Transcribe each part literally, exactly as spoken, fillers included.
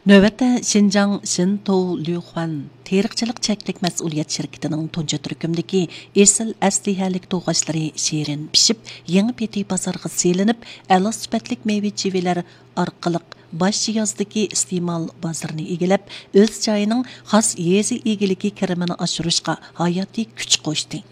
نۆۋەتتە شىنجاڭ شىنتوۋ لۈخۈەن تېرىقچىلىق چەكلىك مەسئۇلىيەت شىركىتىنىڭ تۇنجى تۈركۈمدىكى ئېسىل ئەسلىھەلىك توغاچلىرى شېرىن پىشىپ، يېڭى پېتى بازارغا سېلىنىپ، ئەلا سۈپەتلىك مېۋە چىۋىلەر ئارقىلىق باش يازدىكى ئىستېمال بازىرىنى ئىگىلەپ، ئۆز جايىنىڭ خاس يېزا ئىگىلىكى كىرىمىنى ئاشۇرۇشقا ھاياتىي كۈچ قوشتى.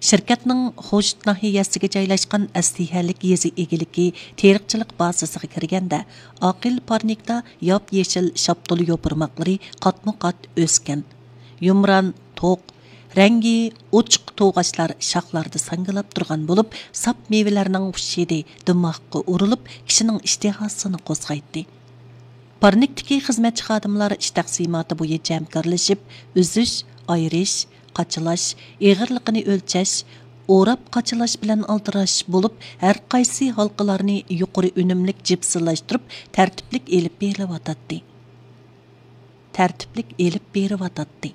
شىركەتنىڭ خوشۇت ناھىيەسىگە جايلاشقان ئەسلىھەلىك يېزا ئىگىلىكى تېرىقچىلىق بازىسىغا كىرگەندە، ئاقىل پارنىكتا ياپيېشىل شاپتۇل يوپۇرماقلىرى قاتمۇ قات ئۆسكەن. يۇمران، توق، رەڭگى ئوچۇق توغاچلار شاخلاردا ساڭگىلاپ تۇرغان بولۇپ، ساپ مېۋىلەرنىڭ خۇش ھىدى دىماغقا ئۇرۇلۇپ، كىشىنىڭ ئىشتىھاسىنى قوزغايتتى. پارنىكتىكى خىزمەتچى خادىملار ئىش تەقسىماتى بويىچە ھەمكارلىشىپ، ئۈزۈش، ئايرىش، قاچىلاش، ئېغىرلىقىنى ئۆلچەش، ئوراپ قاچىلاش بىلەن ئالدىراش بولۇپ، ھەر قايسى ھالقىلارنى يۇقىرى ئۈنۈملۈك جىپسىلاشتۇرۇپ، تەرتىپلىك ئېلىپ بېرىلىۋاتاتتى. تەرتىپلىك ئېلىپ بېرىۋاتاتتى.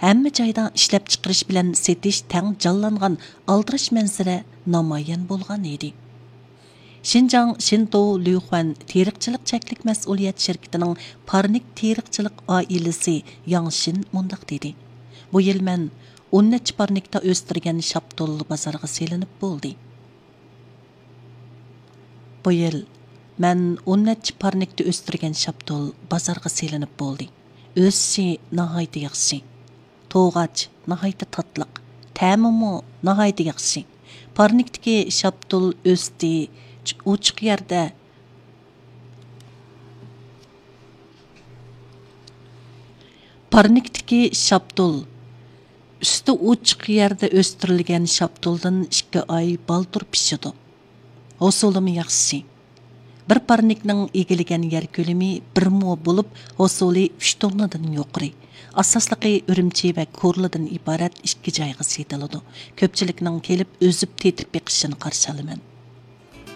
ھەممە جايدا ئىشلەپچىقىرىش بىلەن سېتىش تەڭ جانلانغان ئالدىراش مەنزىرە نامايان بولغان ئىدى. شىنجاڭ شىنتوۋ لۈخۈەن تېرىقچىلىق چەكلىك مەسئۇلىيەت شىركىتىنىڭ پارنىك تېرىقچىلىق ئائىلىسى ياڭ شىن مۇنداق دېدى: بۇ يىل مەن ئون نەچچە پارنىكتا ئۆستۈرگەن شاپتۇل بازارغا سېلىنىپ بولدى. بۇ يىل مەن ئون نەچچە پارنىكتا ئۆستۈرگەن شاپتۇل بازارغا سېلىنىپ بولدى. ئۆسۈشى ناھايىتى ياخشى. توغاچ ناھايىتى تاتلىق، تەمىمۇ ناھايىتى ياخشى. پارنىكتىكى شاپتۇل ئۆستى، ئوچۇق يەردە. پارنىكتىكى شاپتۇل ئۈستى ئوچۇق يەردە ئۆستۈرۈلگەن شاپتۇلدىن ئىككى ئاي بالدۇر پىشىدۇ. ھوسۇلىمۇ ياخشى. بىر پارنىكنىڭ ئىگىلىگەن يەر كۆلىمى بىر مو بولۇپ، ھوسۇلى ئۈچ توننىدىن يۇقىرى. ئاساسلىقى ئۈرۈمچى ۋە كورلىدىن ئىبارەت ئىككى جايغا سېتىلىدۇ. كۆپچىلىكنىڭ كېلىپ ئۈزۈپ تېتىپ بېقىشىنى قارشى ئالىمەن.